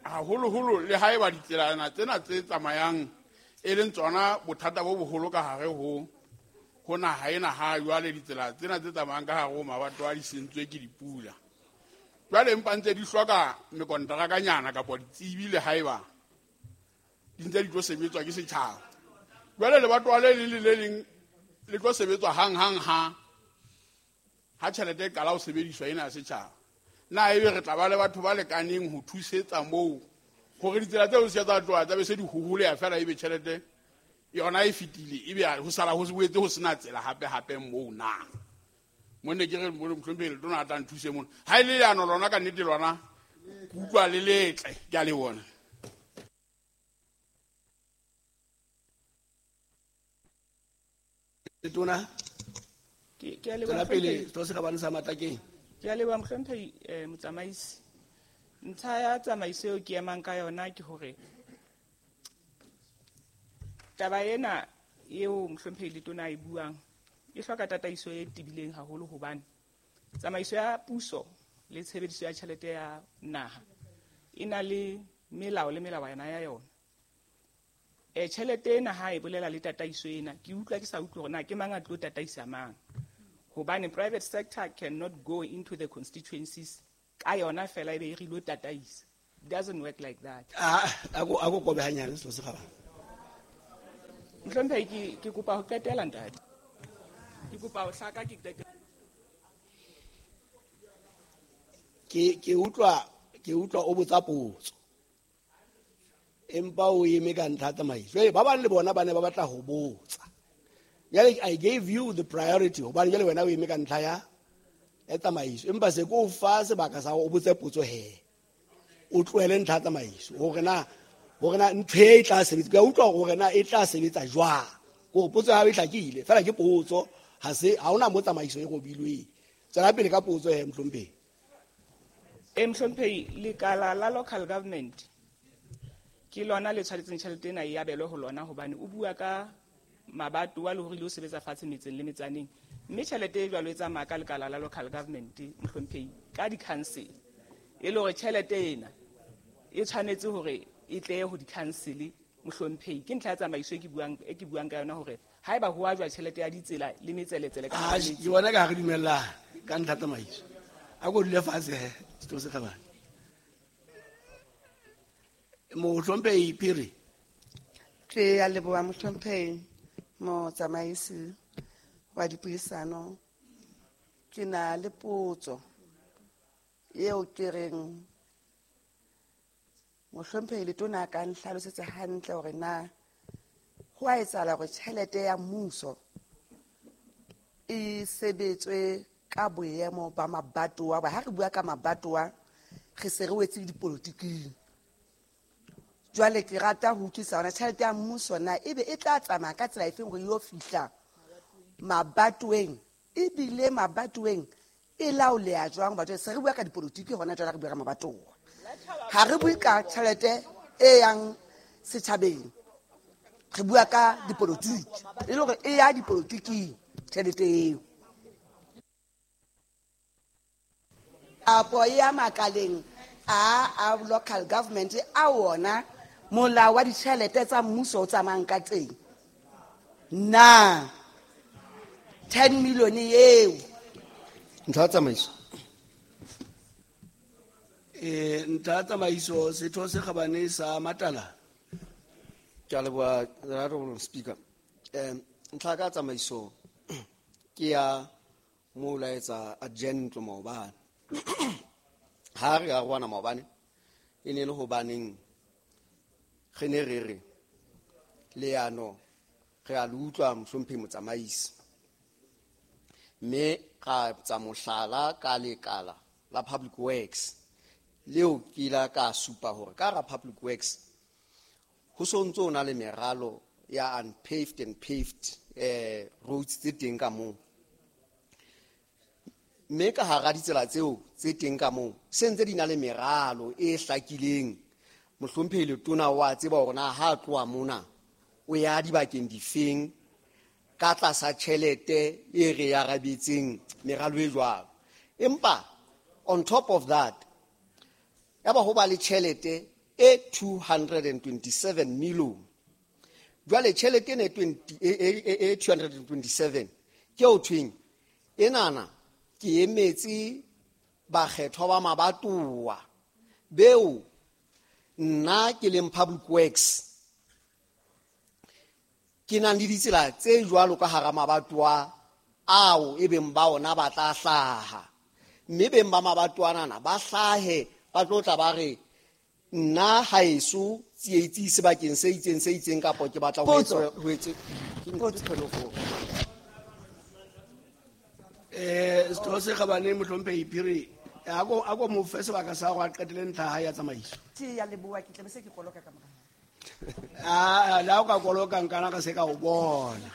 haholoholo le haeba ditselana tsena tse tsamayang e leng tsona bothata bo boholo ka hare ho ho naha ena ha jwale ditsela tsena tse tsamayang ka hare ho mabatowa di sentswe ke dipula. Jwale empa ntse di hloka mekonterakanyana kapa ditsebi le haeba di ntse di tlo sebetswa ke setjhaba. Jwale lebatowa le leng le le leng le tlo sebetswa hang hang ha ha tjhelete e qala ho sebediswa ena ya setjhaba. Na ebe re tla ba le batho ba lekaneng ho thusetsa moo hore ditsela tseo se tsa tloha tsa be se di hoholeha feela ebe tjhelete yona e fetile ebe ho sala ho boetse ho sena tsela hape hape moo na. Mone ke re mohlomphehi letona a tla nthuse mona. Ha e le leano lona ka nnete lona ke utlwa le letle, ke a le bona. Letona ke ke a leboha tswela pele setho se kgabane sa Matlakeng. Ke a leboha mohlomphehi eh, motsamaisi. Ntlha ya tsamaiso eo ke emang ka yona ke hore taba ena eo mohlomphehi letona a e buang e hloka tataiso e tebileng haholo hobane tsamaiso ya puso le tshebediso ya tjhelete ya naha e na le melao le melawana ya yona. E tjhelete ena ha e bolela le tataiso ena, ke utlwa ke sa utlwe hore na ke mang a tlo tataisa mang. Hobane private sector cannot go into the constituencies ka yona fela ebe e re ilo tataisa. It doesn't work like that. Ah, ako ako kobe hanyane setho se kgabane. Mohlomphehi, ke ke kopa ho qetela ntate. Ke kopa ho hlaka ke qetela. Ke ke utlwa ke utlwa o botsa potso. Empa o eme ka ntlha tsamaiso. Jwale ba bang le bona ba ne ba batla ho botsa. Jwale I gave you the priority hobane jwale wena o eme ka ntlha ya ya tsamaiso. Empa se ko fa sebaka sa o botse potso he. O tlohele ntlha tsamaiso hore na hore na ntho e tla sebetsa. Ke a utlwa hore na e tla sebetsa jwang. Hore potso ya hao e hlakile. Feela ke potso ha se ha hona mo tsamaiso e robilweng. Tswela pele ka potso he mohlomphehi. E mohlomphehi, lekala la local government ke lona le tshwanetseng tjhelete ena e abelwe ho lona hobane o bua ka mabatowa le hore le o sebetsa fatshe metseng le metsaneng. Mme tjhelete e jwalo e tsamaya ka lekala la local government mohlomphehi ka di-council. E le hore tjhelete ena e tshwanetse hore e tle ho di-council mohlomphehi. Ke ntlha ya tsamaiso e ke buang, e ke buang ka yona hore haeba ho ajwa tjhelete ya ditsela le metseletsele ka Ah, hara metse. ke bona ka ha re dumellana ka ntlha tsamaiso. A ko dule fatshe he, setho se kgabane. Mohlomphehi Phiri. Ke a leboha mohlomphehi motsamaisi wa dipuisano. Ke na le potso eo ke reng mohlomphehi letona a ka nhlalosetsa hantle hore na ho a etsahala hore tjhelete ya mmuso e sebetswe ka boemo ba mabatowa. Ba ha re bua ka mabatowa re se re wetse dipolotiking. Jwale ke rata ho utlwisisa hore tjhelete ya mmuso na ebe e tla tsamaya ka tsela efeng hore e yo fihla mabatoweng, ebile mabatoweng e laoleha jwang? Batho se re bua ka dipolotiki hona jwale, re bua ka mabatowa. Ha re bue ka tjhelete e yang setjhabeng, re bua ka dipolotiki, e le hore e ya dipolotiking tjhelete eo. Apo ya makaleng a a local government a wona molao wa ditjhelete tsa mmuso o tsamayang ka teng. Na ten million eo Ntlha ya tsamaiso. Eh, ntlha ya tsamaiso setho se kgabane sa Matala. Ke a leboha, Honorable Speaker. Eh, ntlha ka tsamaiso ke ya mo laetsa adjourn ntlo maobane. Ha re arohana maobane e ne le hobaneng re ne re re leano re a le utlwa mohlomphehi motsamaisi, mme ra tsa mohlala ka lekala la Public Works leo ke la ka supa hore ka ra Public Works ho so ntso o na le meralo ya unpaved and paved eh roads tse teng ka moo, mme ka hara ditsela tseo tse teng ka moo se ntse di na le meralo e hlakileng. Mohlomphehi letona wa tseba hore na ha tloha mona o ya dibakeng difeng ka tlasa tjhelete e re ya arabetseng meralo e jwalo. Empa on top of that ya ba ho ba le tjhelete e two hundred and twenty-seven million. Jwale tjhelete ena e twenty, e, e, e, e two hundred and twenty-seven ke o thweng enana ke emetse bakgethwa ba mabatowa beo nna ke leng Public Works ke nang le ditsela tse jwalo ka hara mabatowa ao e beng ba ona ba tla hlaha, mme beng ba mabatowa ana ba hlahe ba tlo tla ba re nna haeso tsietsi sebakeng se itseng se itseng kapa ke batla ho Potso. etswa, ho etse, ke ntho tse tshwanelo ho. Eh, setho se kgabane mohlomphehi Phiri, a ko, a ko mo fe sebaka sa hore a qetele ntlha ya hae ya tsamaiso. Ke ya leboha, ke tla be se ke koloka ka morao. Ah, le ha o ka koloka nkana ka se ka o bona.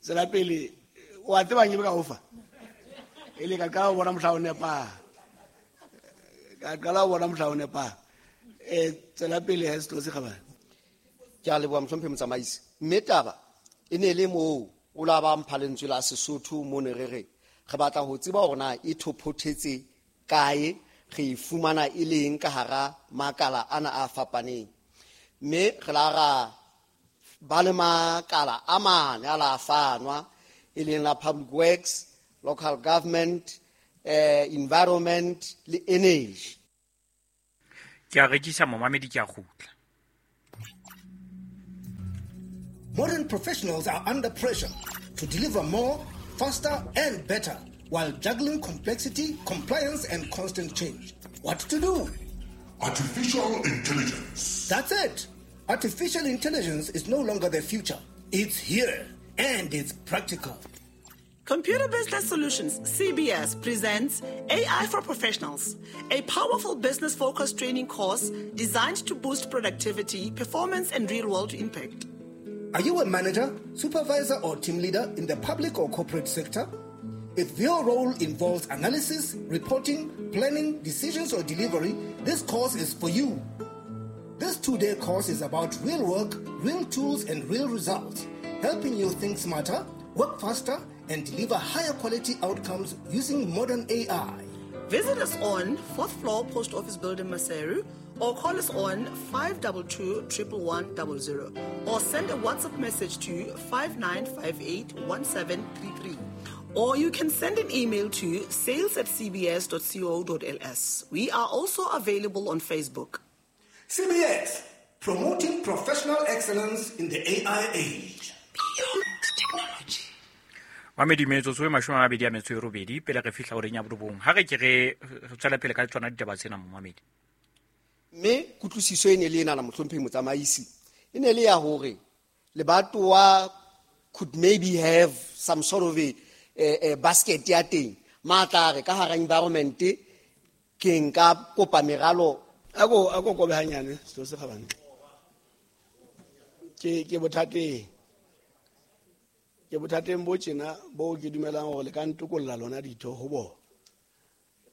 Tswela pele, o a tseba nke ka o fa? E le ka qala ho bona mohla o nepang. Ka qala ho bona mohla o nepang. Eh, tswela pele he setho se kgabane. Ke a leboha mohlomphehi motsamaisi. Mme taba e ne le moo o la ba mpha lentswe la Sesotho mo ne re re re batla ho tseba hore na e thophothetse kae, re e fumana e leng ka hara makala ana a fapaneng. Mme re la ra ba le makala a mane a la fanwa, e leng la public works, local government, eh, environment le energy. Ke a rekisa momamedi, ke a kgutla. Modern professionals are under pressure to deliver more, faster, and better while juggling complexity, compliance, and constant change. What to do? Artificial intelligence. That's it. Artificial intelligence is no longer the future. It's here, and it's practical. Computer Business Solutions, C B S, presents A I for Professionals, a powerful business-focused training course designed to boost productivity, performance, and real-world impact. Are you a manager, supervisor, or team leader in the public or corporate sector? If your role involves analysis, reporting, planning, decisions, or delivery, this course is for you. This two-day course is about real work, real tools, and real results, helping you think smarter, work faster, and deliver higher quality outcomes using modern A I. Visit us on fourth floor Post Office Building, Maseru, or call us on five two two, one one one zero, or send a WhatsApp message to five nine five eight, one seven three three. Or you can send an email to sales at c b s dot co dot l s. We are also available on Facebook. C B S, promoting professional excellence in the A I age. Beyond technology. Mamedi metsotso e mashome a mabedi a metso e robedi pele re fihla horeng ya borobong. Ha re ke re tswela pele ka tsona ditaba tsena, momamedi. Mme kutlwisiso e ne le ena la mohlomphehi motsamaisi e ne le ya hore lebatowa could maybe have some sort of a, a, a basket ya teng matla re ka hara environment ke nka kopa meralo. Ako ako kobe hanyane selo se kgabane. Ke ke bothateng. Ke bothateng bo tjena bo ke dumelang hore le ka ntokolla lona ditho ho bona.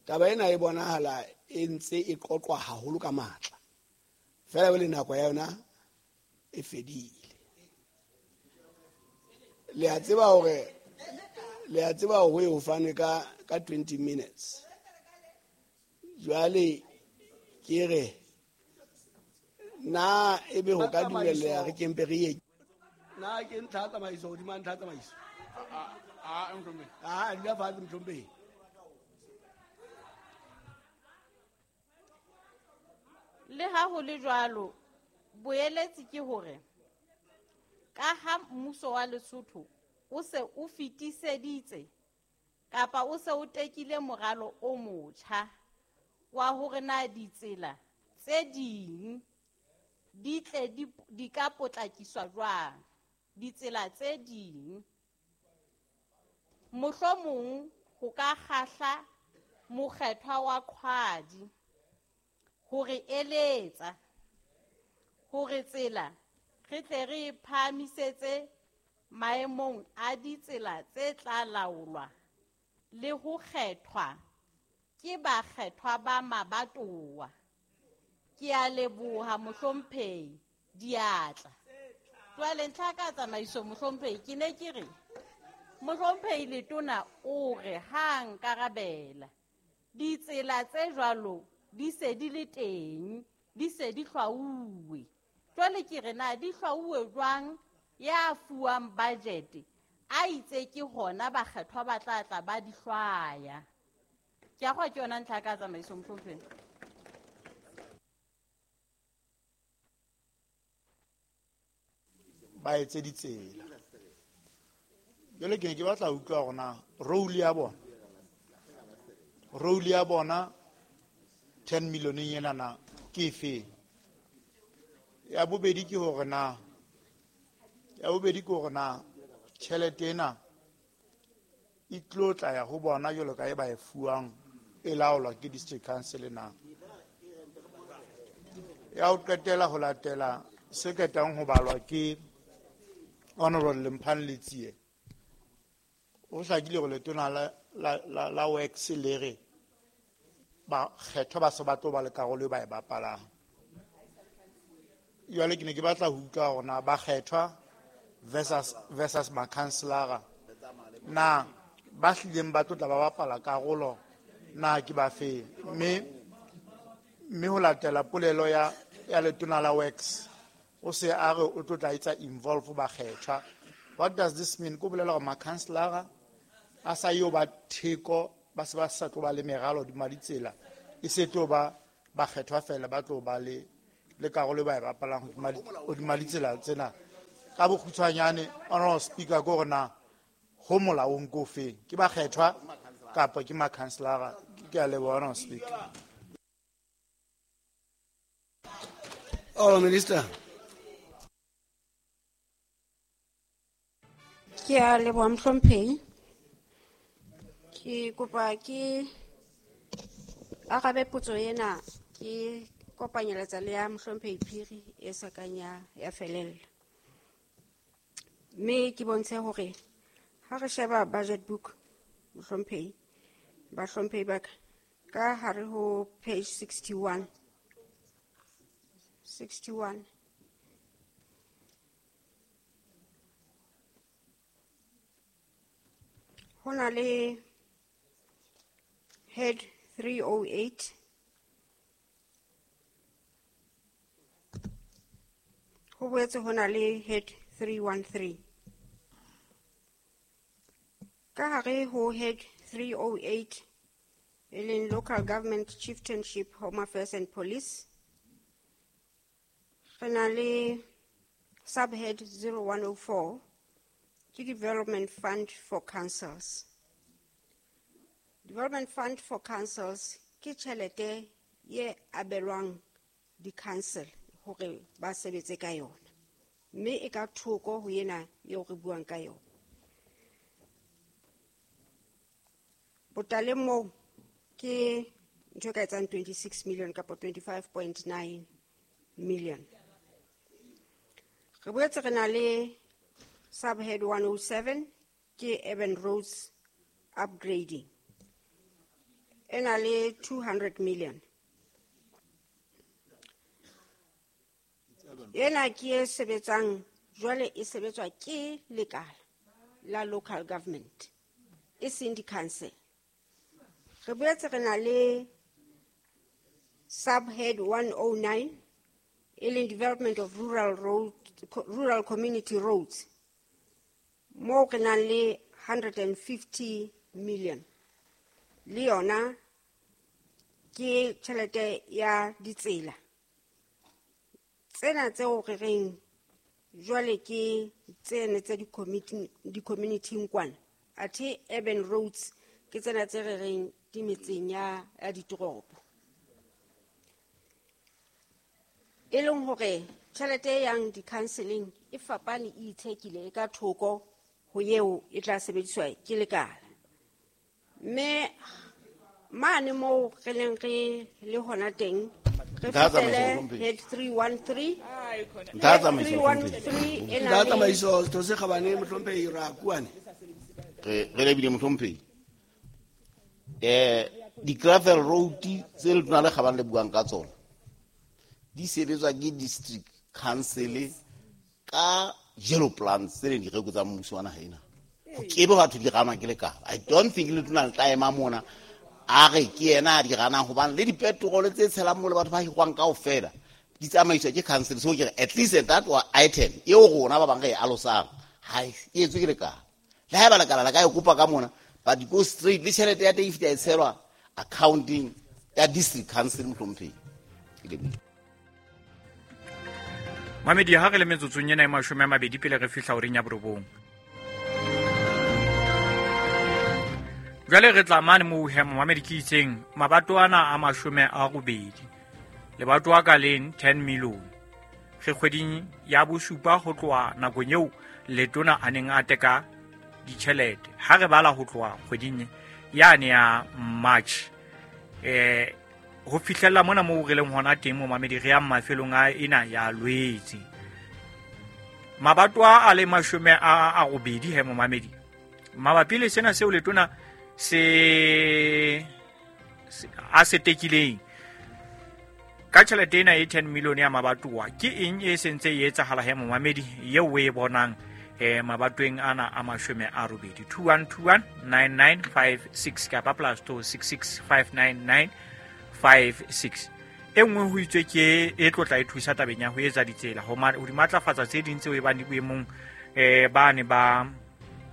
Taba ena e bonahala e ntse e qoqwa haholo ka matla. Fela le nako ya yona e fedile. Le a tseba hore le a tseba hore ho fane ka ka twenty minutes. Jwale ke re na ebe ho ka dumella re kempe re ye. Na ke ntlha tsamaiso hodima ntlha tsamaiso. A a ntlhompe. A dula fatshe ntlhompe. Le ha ho le jwalo, boeletsi ke hore ka ha mmuso wa Lesotho o se o fetiseditse kapa o se o tekile moralo o motjha wa hore na ditsela tse ding di tle di, di ka potlakiswa jwang, ditsela tse ding mohlomong ho ka kgahla mokgethwa wa Qhwadi hore eletsa hore tsela re tle re phahamisetse maemong a ditsela tse tla laolwa le ho kgethwa ke bakgethwa ba mabatowa. Ke a leboha mohlomphehi diatla. Jwale ntlha ka tsamaiso mohlomphehi ke ne ke re mohlomphehi letona o re ha nkarabela ditsela tse jwalo di se di le teng, di se di hlwauwe. Jwale ke re na di hlwauwe jwang ya fuwang budget a itse ke hona bakgethwa ba tla tla ba di hlwaya. Ke a kgwa ke yona ntlha ka tsamaiso mohlomphehi. Ba etse ditsela. Jwale ke ne ke batla ho utlwa hore na role ya bona, role ya bona ten million ena na ke efe? Ya bobedi ke hore na, ya bobedi ke hore na tjhelete ena e tlo tla ya ho bona jwalo ka e ba e fuwang e laolwa ke district council na. Ya ho qetela ho latela se ketang ho balwa ke Honorable Lemphane Letsie. O hlakile hore letona la, la, la, la works le re bakgethwa ba se ba tlo ba le karolo e ba e bapalang. Jwale ke ne ke batla ho utlwa hore na bakgethwa versus, versus makhanselara na ba hlileng ba tlo tla ba bapala karolo na ke ba feng. Mme, mme ho latela polelo ya, ya letona la works o se a re o tlo tla etsa involve bakgethwa. What does this mean? Ko bolela hore makhanselara a sa yo ba theko ba se ba sa tlo ba le meralo hodima ditsela, e se tlo ba ba kgethwa fela, ba tlo ba le le karolo ba e bapalang hodima ditsela tsena. Ka bokgutshwanyane, Honorable Speaker, ko hore na ho molaong ko feng, ke ba kgethwa kapa ke makhanselara? Ke a leboha, Honorable Speaker. Oh, Minister. Ke a leboha, mohlomphehi. Ke kopa ke arabe potso ena ke kopanyeletsa le ya mohlomphehi Phiri e sa kang ya, ya felella. Mme ke bontshe hore ha re sheba budget book, mohlomphehi, bahlomphehi ba ka, ka hare ho page sixty-one. sixty-one. Ho na le head three oh eight. Ho boetse ho na le head three one three. Ka hare ho head three oh eight, e leng Local Government, Chieftainship, Home Affairs and Police, re na le subhead zero one oh four, ke Development Fund for Councils. Development Fund for Councils ke tjhelete ye abelwang di-council hore ba sebetse ka yona, mme e ka thoko ho ena eo re buang ka yona. Botaleng moo ke ntho e ka etsang twenty-six million kapa twenty-five point nine million. Re boetse re na le subhead one oh seven, ke urban roads upgrading, e na le two hundred million. Ena ke e sebetsang jwale, e sebetswa ke lekala la local government, e seng di-council. Re boetse re na le subhead one oh nine, e leng development of rural road, rural community roads, moo re nang le hundred and fifty million. Le yona ke tjhelete ya ditsela tsena tseo re reng jwale ke tsene tsa di-community kwana, athe urban roads ke tsena tse re reng di metseng ya, ya ditoropo. E leng hore tjhelete e yang di-counseling e fapane, e ithekile, e ka thoko ho eo e tla sebediswa ke lekala. Mme mane moo re leng re le hona teng, re fetele head three one three. three one three e na le Tsamaiso, Setho se Kgabane, mohlomphehi Rakuane. Re re lebile, mohlomphehi. Eh, di-gravel road tse letona le kgabane le buang ka tsona di sebetswa ke district council ka yellow plans tse leng direko tsa mmuso wa naha ena. Ho kebe batho di ganwa ke lekala. I don't think letona le tla ema mona a re ke yena a di ganang, hobane le dipetrole tse tshelang mo le batho ba hirwang kaofela di tsamaiswa ke council. So ke re at least that item eo rona ba bang re e alosang ha e etswe ke lekala. Le haeba lekala la ka e kopa ka mona, but go straight le tjhelete ya teng e fihla e tshelwa accounting ya district council, mohlomphehi. Ke lebohile. Mamedi, ha re le metsotsong ena e mashome a mabedi pele re fihla horeng ya borobong. Jwale re tla mane moo he, momamedi, ke itseng mabato ana a mashome a robedi, lebato a ka leng ten million. Re kgweding ya bosupa ho tloha nakong eo letona a neng a teka ditjhelete. Ha re bala ho tloha kgweding yane ya March, eh ho fihlella mona moo re leng hona teng, momamedi, re yang mafelong a ena ya Lwetse. Mabato a le mashome a a robedi he, momamedi, mabapi le sena seo letona se a se tekileng ka tjhelete ena e ten million ya mabatowa, ke eng e sentse e etsahala he, momamedi, eo o e bonang eh mabatweng ana a mashome a robedi? Two one two one nine nine five six kapa plus two six six five nine nine five six. E nngwe ho itswe ke e tlotla e thusa tabeng ya ho etsa ditsela, ho di matlafatsa tse ding tseo e bang di boemong eh ba ne ba